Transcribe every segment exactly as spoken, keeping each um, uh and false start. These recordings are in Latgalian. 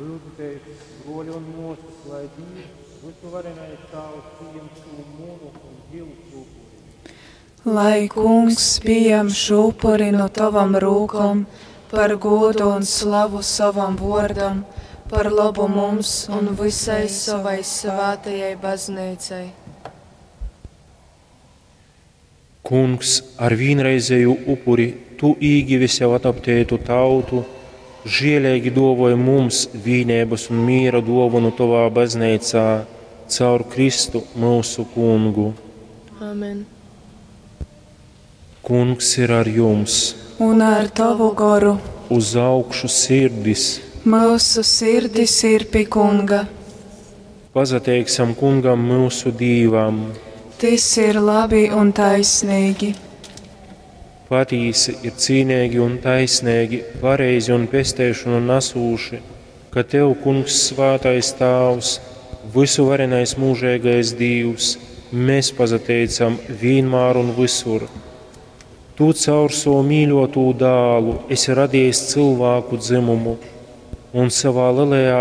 Lyudzitēs, bruoli un muosys, lai Dīvs, vysuvarenais Tāvs, pījem šū munu un jyusu upuri. Lai Kungs pījam šū upuri no tavam rūkom par gūdu un slavu sovam vuordam, par lobu mums un visai savai svātajai bazneicai. Kungs, ar vīnreizēju upuri tu īgivi sev adoptētu tautu, žieleigi duovoj mums vīneibys un mīra duovonu tovā bazneicā caur Kristu myusu Kungu. Amen. Kungs ir ar jums! Un ar tavu goru. Uz augšu sirdis! Myusu sirdis ir pi Kunga. Pasateiksim Kungam myusu Dīvam! Tys ir labi un taisnīgi. Patīsi ir cīneigi un taisneigi, pareizi un pesteišonu nasūši, ka Tev, Kungs, svātais Tāvs, vysuvarenais mūžeigais Dīvs, mēs pasateicam vīnmār un visur. Tu caur savu mīļotū dālu esi radījis cilvēku dzimumu un savā lielajā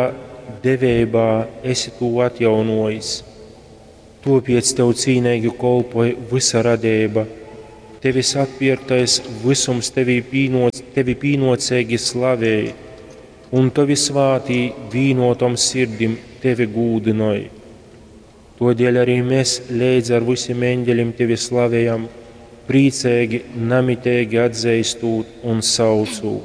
deveibā esi tū atjaunojis. Topiec Tev cīneigi kolpoj vysa radeiba, Tevis atpierktais visums tevī pīnoc, Tevi pīnoceigi slavej, un Tavi svātī vīnotom sirdim Tevi gūdynoj. Todēļ arī mēs leidz ar visiem eņģeļiem Tevi slavējam, priecīgi, namiteigi atzīstot un saucot.